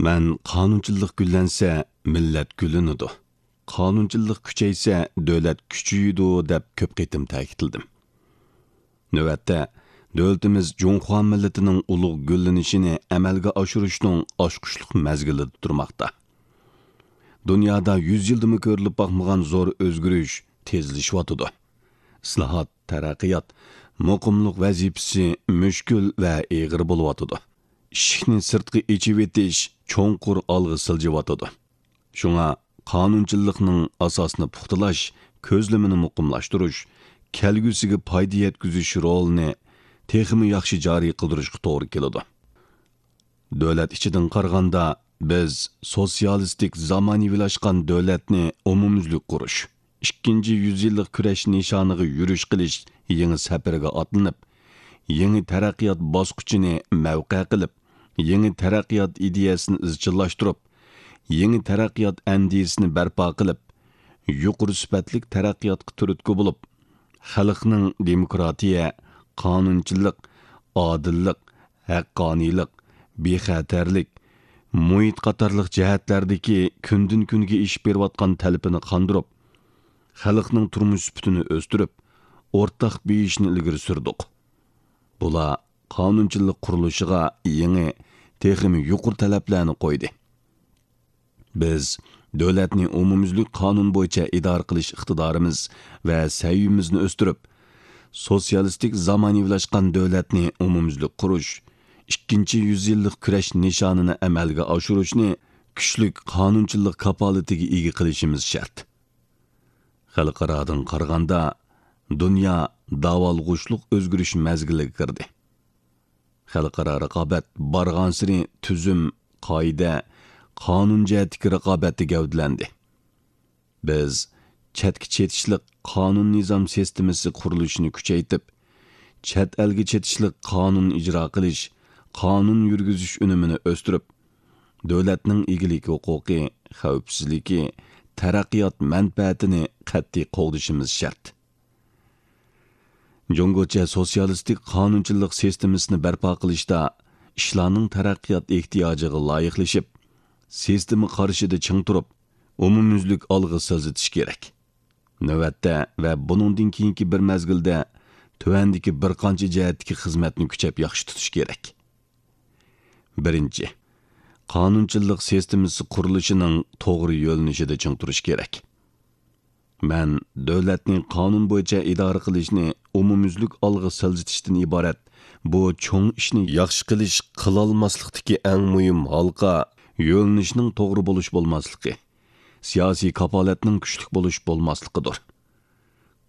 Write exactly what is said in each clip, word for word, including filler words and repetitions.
مەن قانۇنچىللىق گۈللەنسە، مىللەت گۈللىنىدۇ، قانۇنچىللىق كۈچەيسە، دۆلەت كۈچىيىدۇ، دەپ كۆپ قېتىم تەكىتلىدىم. نۆۋەتتە، دۆلىتىمىز جۇڭخۇا مىللىتىنىڭ ئۇلۇغ گۈللىنىشىنى ئەمەلگە ئاشۇرۇشنىڭ ئاچقۇچلۇق مەزگىلىدە تۇرماقتا. دۇنيادا يۈز يىلدىمۇ كۆرۈلۈپ باقمىغان زور ئۆزگىرىش تېزلىشىۋاتىدۇ. ئىسلاھات، تەرەققىيات، مۇقىملىق ۋەزىپىسى مۈشكۈل ۋە ئېغىر بولۇۋاتىدۇ. ئىشىكنى سىرتقا ئېچىۋېتىش چوڭقۇر ئالغا سىلجىۋاتىدۇ. شۇڭا قانۇنچىللىقنىڭ ئاساسىنى پۇختىلاش، كۆزلىمىنى مۇقىملاشتۇرۇش، كەلگۈسىگە پايدا يەتكۈزۈش رولىنى تېخىمۇ ياخشى جارى قىلدۇرۇشقا توغرا كېلىدۇ. دۆلەت ئىچىدىن قارىغاندا، بىز سوتسىيالىستىك زامانىۋىلاشقان دۆلەتنى ئومۇميۈزلۈك قۇرۇش، ئىككىنچى يۈز يىللىق كۈرەش نىشانىغا يۈرۈش قىلىش يېڭى سەپىرىگە ئاتلىنىپ، يېڭى تەرەققىيات باسقۇچىنى مەۋقە قىلىپ، يېڭى تەرەققىيات ئىدىيەسىنى ئىزچىللاشتۇرۇپ، يېڭى تەرەققىيات ئەندىزىسىنى بەرپا قىلىپ، يۇقىرى سۈپەتلىك تەرەققىياتقا تۈرتكە بولۇپ، خەلقنىڭ دېموكراتىيە، قانۇنچىلىق، ئادىللىق، ھەققانىيلىق، بىخەتەرلىك، مۇھىت قاتارلىق جەھەتلەردىكى كۈندىن-كۈنگە ئېشىپ بېرىۋاتقان تەلىپىنى قاندۇرۇپ، خەلقنىڭ تۇرمۇش سۈپىتىنى ئۆستۈرۈپ، ئورتاق بېيىشنى ئىلگىرى سۈردۇق. بۇلار قانۇنچىلىق قۇرۇلۇشىغا يېڭى، تېخىمۇ يۇقىرى تەلەپلەرنى قويدى. بىز دۆلەتنى ئومۇميۈزلۈك قانۇن بويىچە ئىدارە قىلىش ئىقتىدارىمىز ۋە سەۋىيىمىزنى ئۆستۈرۈپ، سوتسىيالىستىك زامانىۋىلاشقان دۆلەتنى ئومۇميۈزلۈك قۇرۇش، ئىككىنچى يۈز يىللىق كۈرەش نىشانىنى ئەمەلگە ئاشۇرۇشنى كۈچلۈك قانۇنچىلىق كاپالىتىگە ئىگە قىلىشىمىز شەرت. خەلقئارادىن قارىغاندا، دۇنيا داۋالغۇشلۇق ئۆزگىرىش مەزگىلىگە كىردى. خەلقئارا رىقابەت بارغانسېرى تۈزۈم، قائىدە، قانۇن جەھەتتىكى رىقابەتتە گەۋدىلەندى. بىز چەتكە چېتىشلىق قانۇن نىزام سىستېمىسى قۇرۇلۇشىنى كۈچەيتىپ، چەت ئەلگە چېتىشلىق قانۇن ئىجرا قىلىش، قانۇن يۈرگۈزۈش ئۈنۈمىنى ئۆستۈرۈپ، دۆلەتنىڭ ئىگىلىك ھوقۇقى، خەۋپسىزلىكى، تەرەققىيات مەنپەئەتىنى قەتئىي قوغدىشىمىز شەرت. جۇڭگوچە سوتسىيالىستىك قانۇنچىلىق سىستېمىسىنى بەرپا قىلىشتا ئىشلارنىڭ تەرەققىيات ئېھتىياجىغا لايىقلىشىپ، سىستېما قارىشىدا چىڭ تۇرۇپ، ئومۇميۈزلۈك ئالغا سىلجىتىش كېرەك. نۆۋەتتە ۋە بۇنىڭدىن كېيىنكى بىر مەزگىلدە تۆۋەندىكى بىر قانچە جەھەتتىكى خىزمەتنى كۈچەپ ياخشى تۇتۇش كېرەك. بىرىنچى، قانۇنچىلىق سىستېمىسى قۇرۇلۇشىنىڭ توغرا يۆنىلىشىدە چىڭ تۇرۇش كېرەك. مەن دۆلەتنى قانۇن بويىچە ئىدارە قىلىشنى ئومۇميۈزلۈك ئالغا سىلجىتىشتىن ئىبارەت بۇ چوڭ ئىشنى ياخشى قىلىش، قىلالماسلىقتىكى ئەڭ مۇھىم ھالقا، يۆنىلىشنىڭ توغرا بولۇش بولماسلىقى، سىياسىي كاپالەتنىڭ كۈچلۈك بولۇش بولماسلىقىدۇر.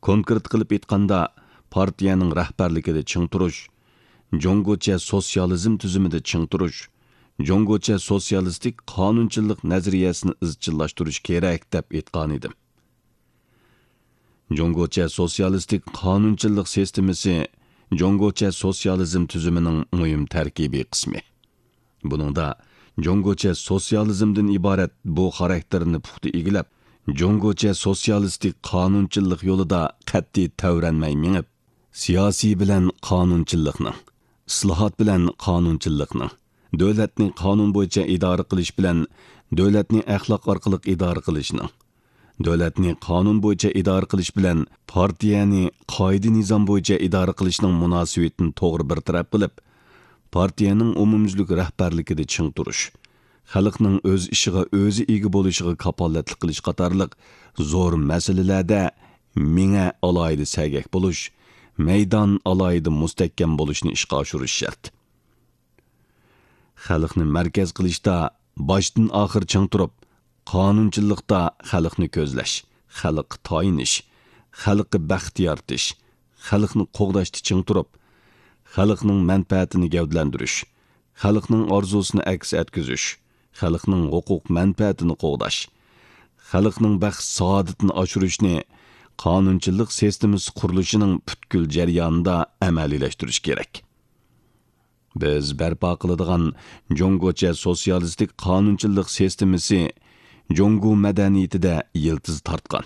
كونكرېت قىلىپ ئېيتقاندا، پارتىيەنىڭ رەھبەرلىكىدە چىڭ تۇرۇش، جۇڭگوچە سوتسىيالىزم تۈزۈمىدە چىڭ تۇرۇش، جۇڭگوچە سوتسىيالىستىك قانۇنچىلىق نەزەرىيەسىنى ئىزچىللاشتۇرۇش كېرەك، دەپ ئېيتقانىدىم. جۇڭگوچە سوتسىيالىستىك قانۇنچىلىق سىستېمىسى جۇڭگوچە سوتسىيالىزم تۈزۈمىنىڭ مۇھىم تەركىبىي قىسمى. بۇنىڭدا جۇڭگوچە سوتسىيالىزمدىن ئىبارەت بۇ خاراكتېرنى پۇختا ئىگىلەپ، جۇڭگوچە سوتسىيالىستىك قانۇنچىلىق يولىدا قەتئىي تەۋرەنمەي مېڭىپ، سىياسىي بىلەن قانۇنچىللىقنىڭ، ئىسلاھات بىلەن قانۇنچىللىقنىڭ، دۆلەتنى قانۇن بويىچە ئىدارە قىلىش بىلەن دۆلەتنى ئەخلاق ئارقىلىق ئىدارە قىلىشنىڭ، دۆلەتنى قانۇن بويىچە ئىدارە قىلىش بىلەن پارتىيەنى قائىدە-نىزام بويىچە ئىدارە قىلىشنىڭ مۇناسىۋىتىنى توغرا بىر تەرەپ قىلىپ، پارتىيەنىڭ ئومۇميۈزلۈك رەھبەرلىكىدە چىڭ تۇرۇش، خەلقنىڭ ئۆز ئىشىغا ئۆزى ئىگە بولۇشىغا كاپالەتلىك قىلىش قاتارلىق زور مەسىلىلەردە مېڭە ئالاھىدە سەگەك بولۇش، مەيدان ئالاھىدە مۇستەھكەم بولۇشنى ئىشقا ئاشۇرۇش شەرت. خەلقنى مەركەز قىلىشتا باشتىن ئاخىر چىڭ تۇرۇپ، قانۇنچىللىقتا خەلقنى كۆزلەش، خەلققە تايىنىش، خەلققە بەخت يارىتىش، خەلقنى قوغداشتا چىڭ تۇرۇپ، خەلقنىڭ مەنپەئەتىنى گەۋدىلەندۈرۈش، خەلقنىڭ ئارزۇسىنى ئەكس ئەتكۈزۈش، خەلقنىڭ ھوقۇق مەنپەئەتىنى قوغداش، خەلقنىڭ بەخت-سائادىتىنى ئاشۇرۇشنى قانۇنچىلىق سىستېمىسى قۇرۇلۇشىنىڭ پۈتكۈل جەريانىدا ئەمەلىيلەشتۈرۈش كېرەك. بىز بەرپا قىلىدىغان جۇڭگوچە سوتسىيالىستىك قانۇنچىلىق سىستېمىسى جۇڭگو مەدەنىيىتىدە يىلتىز تارتقان،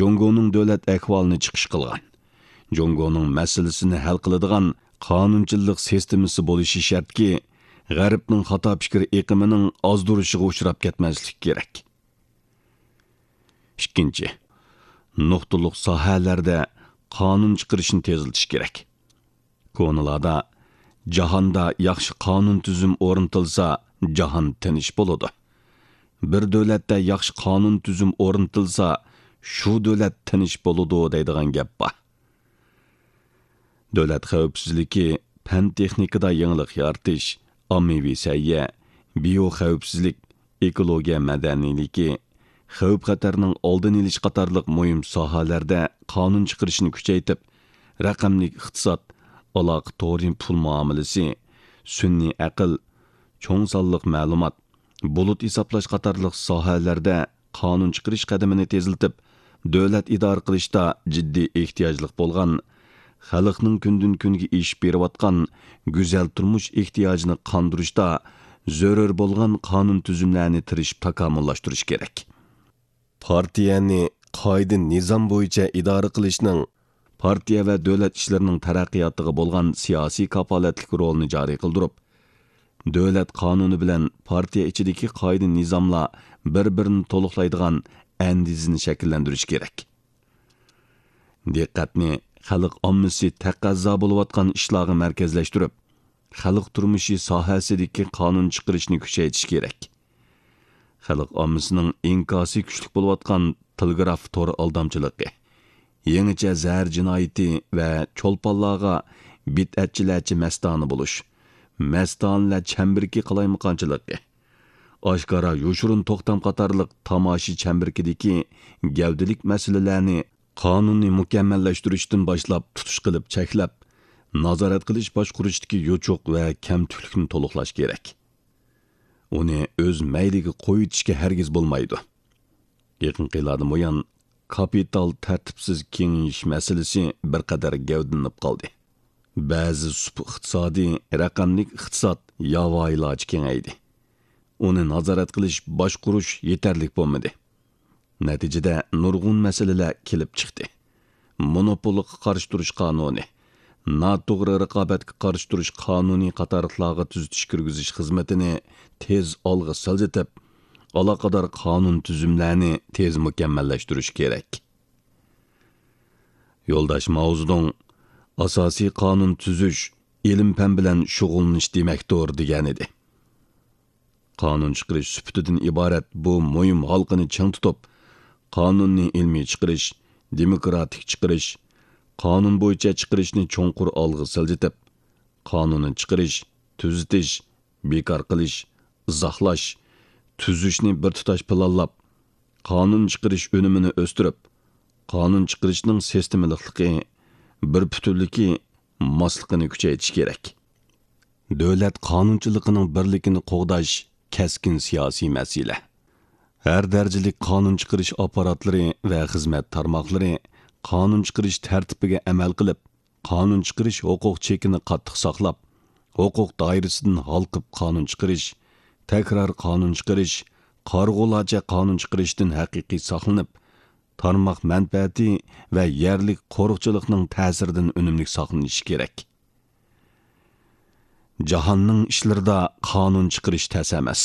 جۇڭگونىڭ دۆلەت ئەھۋالىنى چىقىش قىلغان، جۇڭگونىڭ مەسىلىسىنى ھەل قىلىدىغان قانۇنچىلىق سىستېمىسى بولۇشى شەرتكى، غەربنىڭ خاتا پىكىر ئېقىمىنىڭ ئازدۇرۇشىغا ئۇچراپ كەتمەسلىك كېرەك. ئىككىنچى، نۇقتىلىق ساھەلەردە قانۇن چىقىرىشنى تېزلىتىش كېرەك. كونىلاردا، «جاھاندا ياخشى قانۇن تۈزۈم ئورنىتىلسا، جاھان تىنچ بولىدۇ. بىر دۆلەتتە ياخشى قانۇن تۈزۈم ئورنىتىلسا، شۇ دۆلەت تىنچ بولىدۇ» دەيدىغان گەپ بار. دۆلەت خەۋپسىزلىكى، پەن تېخنىكىدا يېڭىلىق يارىتىش، ئاممىۋى سەھىيە، بىيو خەۋپسىزلىك، ئېكولوگىيە مەدەنىيلىكى، خەۋپ خەتەرنىڭ ئالدىنى ئېلىش قاتارلىق مۇھىم ساھەلەردە قانۇن چىقىرىشنى كۈچەيتىپ، رەقەملىك ئىقتىساد، ئالاقە تورى، پۇل مۇئامىلىسى، سۈنئىي ئەقىل، چوڭ سانلىق مەلۇمات، بۇلۇت ھېسابلاش قاتارلىق ساھەلەردە قانۇن چىقىرىش قەدىمىنى تېزلىتىپ، دۆلەت ئىدارە قىلىشتا جىددىي ئېھتىياجلىق بولغان، خەلقنىڭ كۈندىن-كۈنگە ئېشىپ بېرىۋاتقان گۈزەل تۇرمۇش ئېھتىياجىنى قاندۇرۇشتا زۆرۈر بولغان قانۇن تۈزۈملەرنى تىرىشىپ تاكامۇللاشتۇرۇش كېرەك. پارتىيەنى قائىدە نىزام بويىچە ئىدارە قىلىشنىڭ پارتىيە ۋە دۆلەت ئىشلىرىنىڭ تەرەققىياتىغا بولغان سىياسىي كاپالەتلىك رولىنى جارى قىلدۇرۇپ، دۆلەت قانۇنى بىلەن پارتىيە ئىچىدىكى قائىدە نىزاملار بىر-بىرىنى تولۇقلايدىغان ئەندىزىنى شەكىللەندۈرۈش كېرەك. دىققەتنى خەلق ئاممىسى تەقەززا بولۇۋاتقان ئىشلارغا مەركەزلەشتۈرۈپ، خەلق تۇرمۇشى ساھەسىدىكى قانۇن چىقىرىشنى كۈچەيتىش كېرەك. خەلق ئاممىسىنىڭ ئىنكاسى كۈچلۈك بولۇۋاتقان تېلېگراف تور ئالدامچىلىقى، يېڭىچە زەھەر جىنايىتى ۋە چولپانلارغا بىدئەتچىلەرچە مەستانە بولۇش، مەستانىلەر چەمبىرىكى قالايمىقانچىلىقى، ئاشكارا يوشۇرۇن توختام قاتارلىق تاماشا چەمبىرىكىدىكى گەۋدىلىك مەسىلىلەرنى قانۇننى مۇكەممەللەشتۈرۈشتىن باشلاپ تۇتۇش قىلىپ چەكلەپ، نازارەت قىلىش باشقۇرۇشتىكى يوچۇق ۋە كەمتۈكلۈكنى تولۇقلاش كېرەك. ئۇنى ئۆز مەيلىگە قويۇۋېتىشكە ھەرگىز بولمايدۇ. يېقىنقى يىللاردىن بۇيان، كاپىتال تەرتىپسىز كېڭىيىش مەسىلىسى بىر قەدەر گەۋدىلىنىپ قالدى. بەزى سۇپا ئىقتىسادى، رەقەملىك ئىقتىساد ياۋايىلارچە كېڭەيدى. ئۇنى نازارەت قىلىش، باشقۇرۇش يېتەرلىك بولمىدى. نەتىجىدە نۇرغۇن مەسىلىلەر كېلىپ چىقتى. مونوپولغا قارشى تۇرۇش قانۇنى، ناتوغرا رىقابەتكە قارشى تۇرۇش قانۇنى قاتارلىقلارغا تۈزىتىش كىرگۈزۈش خىزمىتىنى تېز ئالغا سىلجىتىپ، ئالاقىدار قانۇن تۈزۈملەرنى تېز مۇكەممەللەشتۈرۈش كېرەك. يولداش ماۋزېدۇڭ، «ئاساسىي قانۇن تۈزۈش ئىلىم-پەن بىلەن شۇغۇللىنىش دېمەكتۇر» دېگەنىدى. قانۇن چىقىرىش سۈپىتىدىن ئىبارەت بۇ مۇھىم ھالقىنى چىڭ تۇتۇپ، قانۇننى ئىلمىي چىقىرىش، دېموكراتىك چىقىرىش، قانۇن بويىچە چىقىرىشنى چوڭقۇر ئالغا سىلجىتىپ، قانۇننى چىقىرىش، تۈزىتىش، بىكار قىلىش، ئىزاھلاش، تۈزۈشنى بىر تۇتاش پىلانلاپ، قانۇن چىقىرىش ئۈنۈمىنى ئۆستۈرۈپ، قانۇن چىقىرىشنىڭ سىستېمىلىقلىقى، بىر پۈتۈنلۈكى، ماسلىقىنى كۈچەيتىش كېرەك. دۆلەت قانۇنچىلىقىنىڭ بىرلىكىنى قوغداش كەسكىن سىياسىي مەسىلە. ھەر دەرىجىلىك قانۇن چىقىرىش ئاپپاراتلىرى ۋە خىزمەت تارماقلىرى قانۇن چىقىرىش تەرتىپىگە ئەمەل قىلىپ، قانۇن چىقىرىش ھوقۇق چېكىنى قاتتىق ساقلاپ، ھوقۇق دائىرىسىدىن ھالقىپ قانۇن چىقىرىش، تەكرار قانۇن چىقىرىش، قارىغۇلارچە قانۇن چىقىرىشتىن ھەقىقىي ساقلىنىپ، تارماق مەنپەئەتى ۋە يەرلىك قورۇقچىلىقنىڭ تەسىرىدىن ئۈنۈملۈك ساقلىنىشى كېرەك. جاھاننىڭ ئىشلىرىدا قانۇن چىقىرىش تەس ئەمەس،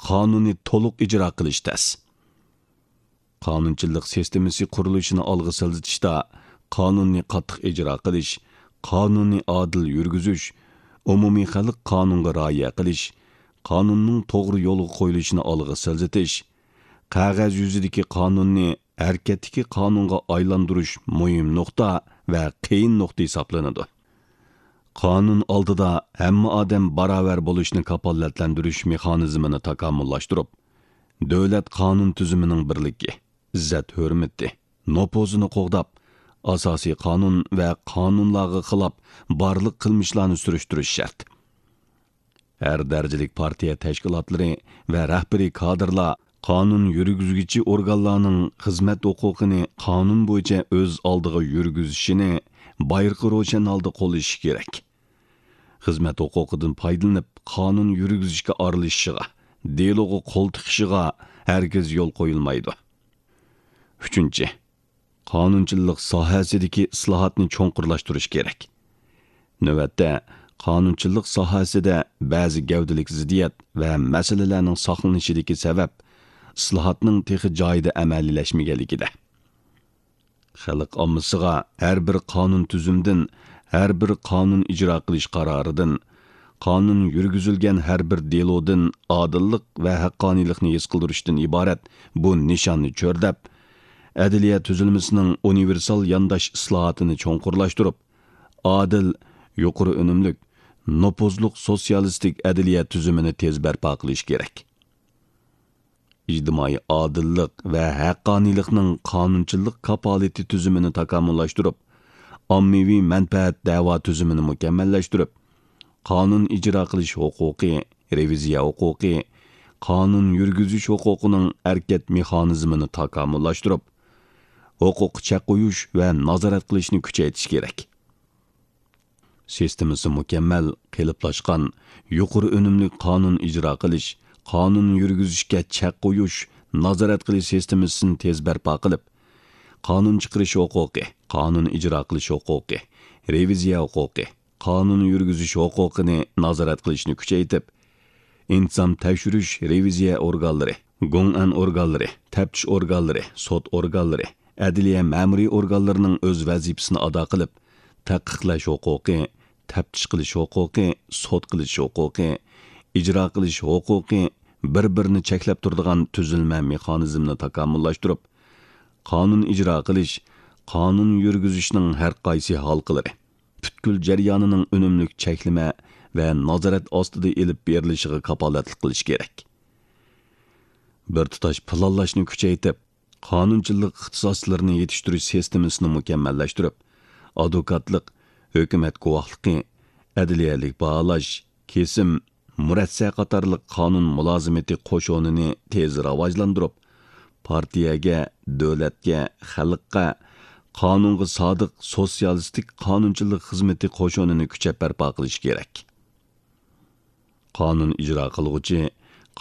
قانۇننى تولۇق ئىجرا قىلىش تەس. قانۇنچىلىق سىستېمىسى قۇرۇلۇشىنى ئالغا سىلجىتىشتا قانۇننى قاتتىق ئىجرا قىلىش، قانۇننى ئادىل يۈرگۈزۈش، ئومۇمىي خەلق قانۇنغا رىئايە قىلىش، قانۇننىڭ توغرا يولغا قويۇلۇشىنى ئالغا سىلجىتىش، قەغەز يۈزىدىكى قانۇننى ھەرىكەتتىكى قانۇنغا ئايلاندۇرۇش مۇھىم نۇقتا ۋە قىيىن نۇقتا ھېسابلىنىدۇ. قانۇن ئالدىدا ھەممە ئادەم باراۋەر بولۇشنى كاپالەتلەندۈرۈش مېخانىزمىنى تاكامۇللاشتۇرۇپ، دۆلەت قانۇن تۈزۈمىنىڭ بىرلىكى، ئىززەت-ھۆرمىتى، نوپۇزىنى قوغداپ، ئاساسىي قانۇن ۋە قانۇنلارغا خىلاپ بارلىق قىلمىشلارنى سۈرۈشتۈرۈش شەرت. ھەر دەرىجىلىك پارتىيە تەشكىلاتلىرى ۋە رەھبىرىي كادىرلار قانۇن يۈرگۈزگۈچى ئورگانلارنىڭ خىزمەت ھوقۇقىنى قانۇن بويىچە ئۆز ئالدىغا يۈرگۈزۈشىنى بايرىقى روشەن ھالدا قوللىشى كېرەك. خىزمەت ھوقۇقىدىن پايدىلىنىپ، قانۇن يۈرگۈزۈشكە ئارىلىشىشىغا، دېلوغا قول تىقىشىغا ھەرگىز يول قويۇلمايدۇ. ئۈچىنچى، قانۇنچىلىق ساھەسىدىكى ئىسلاھاتنى چوڭقۇرلاشتۇرۇش كېرەك. نۆۋەتتە، قانۇنچىلىق ساھەسىدە بەزى گەۋدىلىك زىددىيەت ۋە مەسىلىلەرنىڭ ساقلىنىشىدىكى سەۋەب ئىسلاھاتنىڭ تېخى جايىدا ئەمەلىيلەشمىگەنلىكىدە. خەلق ئاممىسىغا ھەر بىر قانۇن تۈزۈمدىن، ھەر بىر قانۇن ئىجرا قىلىش قارارىدىن، قانۇن يۈرگۈزۈلگەن ھەر بىر دېلودىن ئادىللىق ۋە ھەققانىيلىقنى ھېس قىلدۇرۇشتىن ئىبارەت بۇ نىشاننى چۆرىدەپ، ئەدلىيە تۈزۈلمىسىنىڭ ئۇنىۋېرسال يانداش ئىسلاھاتىنى چوڭقۇرلاشتۇرۇپ، ئادىل، يۇقىرى ئۈنۈملۈك، نوپۇزلۇق سوتسىيالىستىك ئەدلىيە تۈزۈمىنى تېز بەرپا قىلىش كېرەك. ئىجتىمائىي ئادىللىق ۋە ھەققانىيلىقنىڭ قانۇنچىلىق كاپالىتى تۈزۈمىنى تاكامۇللاشتۇرۇپ، ئاممىۋى مەنپەئەت دەۋا تۈزۈمىنى مۇكەممەللەشتۈرۈپ، قانۇن ئىجرا قىلىش ھوقۇقى، رېۋىزىيە ھوقۇقى، قانۇن يۈرگۈزۈش ھوقۇقىنىڭ ھەرىكەت مېخانىزمىنى تاكامۇللاشتۇرۇپ، ھوقۇققا چەك قويۇش ۋە نازارەت قىلىشنى كۈچەيتىش كېرەك. سىستېمىسى مۇكەممەل، قېلىپلاشقان، يۇقىرى ئۈنۈملۈك قانۇن ئىجرا قىلىش، قانۇن يۈرگۈزۈشكە چەك قويۇش، نازارەت قىلىش سىستېمىسىنى تېز بەرپا قىلىپ، قانۇن چىقىرىش ھوقۇقى، قانۇن ئىجرا قىلىش ھوقۇقى، رېۋىزىيە ھوقۇقى، قانۇن يۈرگۈزۈش ھوقۇقىنى نازارەت قىلىشنى كۈچەيتىپ، ئىنتىزام تەكشۈرۈش، رېۋىزىيە ئورگانلىرى، گوڭئەن ئورگانلىرى، تەپتىش ئورگانلىرى، سوت ئورگانلىرى، ئەدلىيە مەمۇرىي ئورگانلىرىنىڭ ئۆز ۋەزىپىسىنى ئادا قىلىپ، تەھقىقلەش ھوقۇقى، تەپتىش قىلىش ھوقۇقى، سوت قىلىش ھوقۇقى، ئىجرا قىلىش ھوقۇقى بىر-بىرىنى چەكلەپ تۇرىدىغان تۈزۈلمە مېخانىزمنى تاكامۇللاشتۇرۇپ، قانۇن ئىجرا قىلىش، قانۇن يۈرگۈزۈشنىڭ ھەر قايسى ھالقىلىرى، پۈتكۈل جەريانىنىڭ ئۈنۈملۈك چەكلىمە ۋە نازارەت ئاستىدا ئېلىپ بېرىلىشىغا كاپالەتلىك قىلىش كېرەك. بىر تۇتاش پىلانلاشنى كۈچەيتىپ، قانۇنچىلىق ئىختىساسلىرىنى يېتىشتۈرۈش سىستېمىسىنى مۇكەممەللەشتۈرۈپ، ئادۋوكاتلىق، ھۆكۈمەت گۇۋاھلىقى، ئەدلىيەلىك باھالاش، كېسىم، مۇرەسسە قاتارلىق قانۇن مۇلازىمىتى قوشۇنىنى تېز راۋاجلاندۇرۇپ، پارتىيەگە، دۆلەتكە، خەلققە قانۇنغا سادىق سوتسىيالىستىك قانۇنچىلىق خىزمىتى قوشۇنىنى كۈچەپ بەرپا قىلىش كېرەك. قانۇن ئىجرا قىلغۇچى،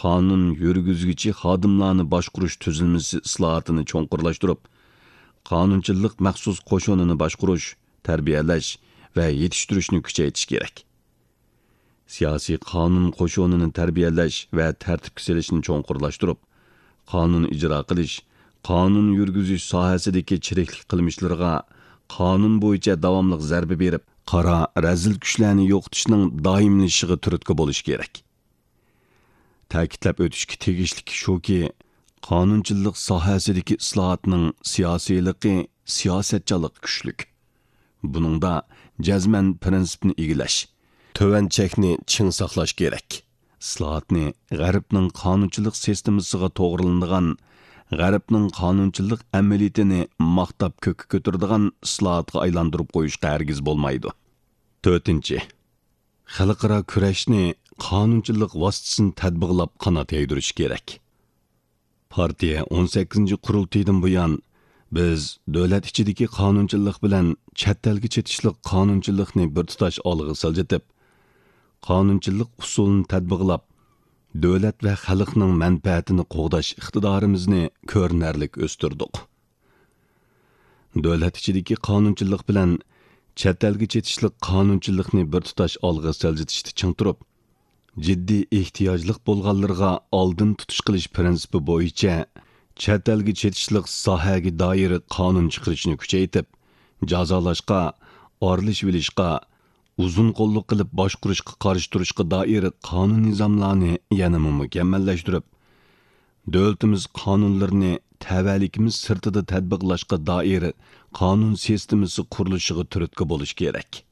قانۇن يۈرگۈزگۈچى خادىملارنى باشقۇرۇش تۈزۈلمىسى ئىسلاھاتىنى چوڭقۇرلاشتۇرۇپ، قانۇنچىلىق مەخسۇس قوشۇنىنى باشقۇرۇش، تەربىيەلەش ۋە يېتىشتۈرۈشنى كۈچەيتىش كېرەك. سىياسىي قانۇن قوشۇنىنى تەربىيەلەش ۋە تەرتىپكە سېلىشنى چوڭقۇرلاشتۇرۇپ، قانۇن ئىجرا قىلىش، قانۇن يۈرگۈزۈش ساھەسىدىكى چىرىكلىك قىلمىشلىرىغا قانۇن بويىچە داۋاملىق زەربە بېرىپ، قارا، رەزىل كۈچلەرنى يوقىتىشنىڭ دائىملىشىشىغا تۈرتكە بولۇش كېرەك. تەكىتلەپ ئۆتۈشكە تېگىشلىك شۇكى، قانۇنچىلىق ساھەسىدىكى ئىسلاھاتنىڭ سىياسىيلىقى، سىياسەتچانلىقى كۈچلۈك. بۇنىڭدا جەزمەن پىرىنسىپنى ئىگىلەش، تۆۋەن چەكنى چىڭ ساقلاش كېرەك. ئىسلاھاتنى غەربنىڭ قانۇنچىلىق سىستېمىسىغا توغرىلىنىدىغان، غەربنىڭ قانۇنچىلىق ئەمەلىيىتىنى ماختاپ كۆككە كۆتۈرىدىغان ئىسلاھاتقا ئايلاندۇرۇپ قويۇشقا ھەرگىز بولمايدۇ. تۆتىنچى، خەلقئارا كۈرەشنى قانۇنچىلىق ۋاسىتىسىنى تەتبىقلاپ قانات يايدۇرۇش كېرەك. پارتىيە ئون سەككىزىنچى قۇرۇلتىيىدىن بۇيان، بىز دۆلەت ئىچىدىكى قانۇنچىلىق بىلەن چەت ئەلگە چېتىشلىق قانۇنچىلىقنى بىر تۇتاش ئالغا سىلجىتىپ، قانۇنچىلىق ئۇسۇلىنى تەتبىقلاپ، دۆلەت ۋە خەلقنىڭ مەنپەئەتىنى قوغداش ئىقتىدارىمىزنى كۆرۈنەرلىك ئۆستۈردۇق. دۆلەت ئىچىدىكى قانۇنچىلىق بىلەن چەت ئەلگە چېتىشلىق قانۇنچىلىقنى بىر تۇتاش ئالغا سىلجىتىشتا چىڭ تۇرۇپ، جىددىي ئېھتىياجلىق بولغانلىرىغا ئالدىن تۇتۇش قىلىش پىرىنسىپى بويىچە چەت ئەلگە چېتىشلىق ساھەگە دائىر قانۇن چىقىرىشنى كۈچەيتىپ، جازالاشقا، ئارىلىشىۋېلىشقا، ئۇزۇن قوللۇق قىلىپ باشقۇرۇشقا قارشى تۇرۇشقا دائىر قانۇن نىزاملارنى يەنىمۇ مۇكەممەللەشتۈرۈپ، دۆلىتىمىز قانۇنلىرىنى تەۋەلىكىمىز سىرتىدا تەتبىقلاشقا دائىر قانۇن سىستېمىسى قۇرۇلۇشىغا تۈرتكە بولۇش كېرەك.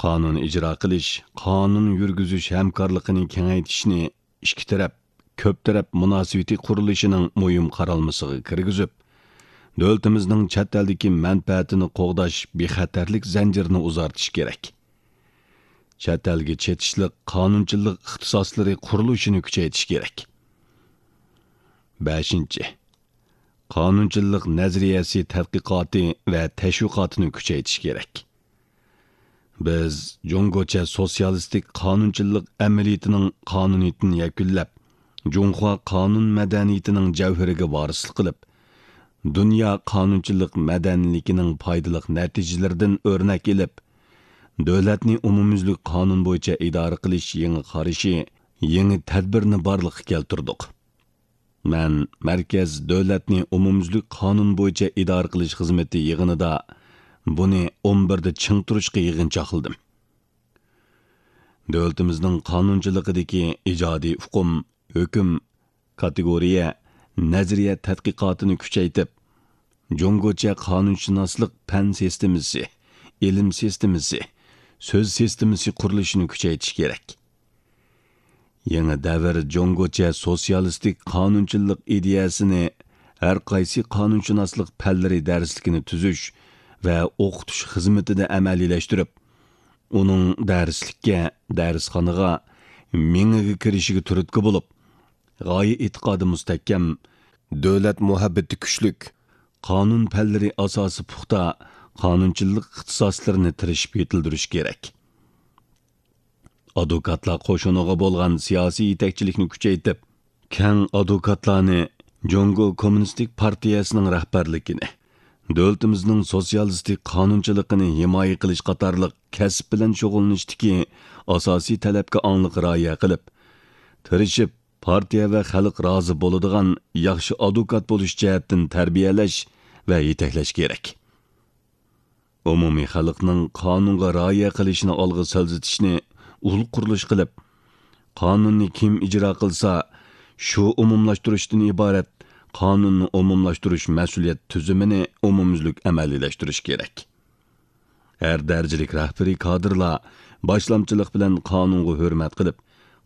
قانۇن ئىجرا قىلىش، قانۇن يۈرگۈزۈش ھەمكارلىقىنى كېڭەيتىشنى ئىككى تەرەپ، كۆپ تەرەپ مۇناسىۋىتى قۇرۇلۇشىنىڭ مۇھىم قارالمىسىغا كىرگۈزۈپ، دۆلىتىمىزنىڭ چەت ئەلدىكى مەنپەئەتىنى قوغداش بىخەتەرلىك زەنجىرىنى ئۇزارتىش كېرەك. چەت ئەلگە چېتىشلىق قانۇنچىلىق ئىختىساسلىرى قۇرۇلۇشىنى كۈچەيتىش كېرەك. بەشىنچى، قانۇنچىلىق نەزەرىيەسى تەتقىقاتى ۋە تەشۋىقاتىنى كۈچەيتىش كېرەك. بىز جۇڭگوچە سوتسىيالىستىك قانۇنچىلىق ئەمەلىيىتىنىڭ قانۇنىيىتىنى يەكۈنلەپ، جۇڭخۇا قانۇن مەدەنىيىتىنىڭ جەۋھىرىگە ۋارىسلىق قىلىپ، دۇنيا قانۇنچىلىق مەدەنىيلىكىنىڭ پايدىلىق نەتىجىلىرىدىن ئۆرنەك ئېلىپ، دۆلەتنى ئومۇميۈزلۈك قانۇن بويىچە ئىدارە قىلىش يېڭى قارىشى، يېڭى تەدبىرىنى بارلىققا كەلتۈردۇق. مەن مەركەز دۆلەتنى ئومۇميۈزلۈك قانۇن بويىچە ئىدارە قىلىش خىزمىتى يىغىنىدا بۇنى ئون بىردە چىڭ تۇرۇشقا يىغىنچاقلىدىم. دۆلىتىمىزنىڭ قانۇنچىلىقىدىكى ئىجادىي ئۇقۇم، ھۆكۈم، كاتېگورىيە، نەزەرىيە تەتقىقاتىنى كۈچەيتىپ، جۇڭگوچە قانۇنشۇناسلىق پەن سىستېمىسى، ئىلىم سىستېمىسى، سۆز سىستېمىسى قۇرۇلۇشىنى كۈچەيتىش كېرەك. يېڭى دەۋر جۇڭگوچە سوتسىيالىستىك قانۇنچىلىق ئىدىيەسىنى ھەر قايسى قانۇنشۇناسلىق پەنلىرى دەرسلىكىنى تۈزۈش ۋە ئوقۇتۇش خىزمىتىدە ئەمەلىيلەشتۈرۈپ، ئۇنىڭ دەرسلىككە، دەرسخانىغا، مېڭىگە كىرىشىگە تۈرتكە بولۇپ، غايە ئېتىقادى مۇستەھكەم، دۆلەت مۇھەببىتى كۈچلۈك، قانۇن پەنلىرى ئاساسى پۇختا قانۇنچىلىق ئىختىساسلىرىنى تىرىشىپ يېتىلدۈرۈش كېرەك. ئادۋوكاتلار قوشۇنىغا بولغان سىياسىي يېتەكچىلىكنى كۈچەيتىپ، كەڭ ئادۋوكاتلارنى جۇڭگو كوممۇنىستىك پارتىيەسىنىڭ رەھبەرلىكىنى، دۆلىتىمىزنىڭ سوتسىيالىستىك قانۇنچىلىقىنى ھىمايە قىلىش قاتارلىق كەسىپ بىلەن شۇغۇللىنىشتىكى ئاساسىي تەلەپكە ئاڭلىق رىئايە قىلىپ، تىرىشىپ، پارتىيە ۋە خەلق رازى بولىدىغان ياخشى ئادۋوكات بولۇش جەھەتتىن تەربىيەلەش ۋە يېتەكلەش كېرەك. ئومۇمىي خەلقنىڭ قانۇنغا رىئايە قىلىشىنى ئالغا سىلجىتىشنى ئۇل قۇرۇلۇش قىلىپ، قانۇننى كىم ئىجرا قىلسا، شۇ ئومۇملاشتۇرۇشتىن ئىبارەت قانۇننى ئومۇملاشتۇرۇش مەسئۇلىيەت تۈزۈمىنى ئومۇميۈزلۈك ئەمەلىيلەشتۈرۈش كېرەك. ھەر دەرىجىلىك رەھبىرىي كادىرلار باشلامچىلىق بىلەن قانۇنغا ھۆرمەت قىلىپ،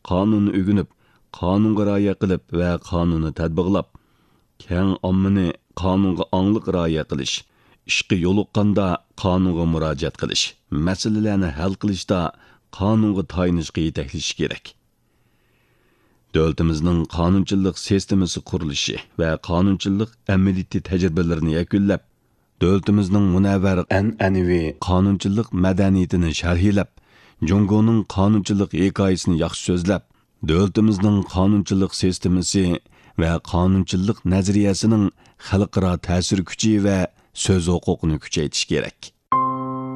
قانۇننى ئۆگىنىپ، قانۇنغا رىئايە قىلىپ ۋە قانۇننى تەتبىقلاپ، كەڭ ئاممىنى قانۇنغا ئاڭلىق رىئايە قىلىش، ئىشقا يولۇققاندا قانۇنغا مۇراجىئەت قىلىش، مەسىلىلەرنى ھەل قىلىشتا قانۇنغا تايىنىشقا يېتەكلىشى كېرەك. دۆلىتىمىزنىڭ قانۇنچىلىق سىستېمىسى قۇرۇلۇشى ۋە قانۇنچىلىق ئەمەلىيىتى تەجرىبىلىرىنى يەكۈنلەپ، دۆلىتىمىزنىڭ مۇنەۋۋەر ئەنئەنىۋى قانۇنچىلىق مەدەنىيىتىنى شەرھلەپ، جۇڭگونىڭ قانۇنچىلىق ھېكايىسىنى ياخشى سۆزلەپ، دۆلىتىمىزنىڭ قانۇنچىلىق سىستېمىسى ۋە قانۇنچىلىق نەزەرىيەسىنىڭ خەلقئارا تەسىر كۈچى ۋە سۆز ھوقۇقىنى كۈچەيتىش كېرەك.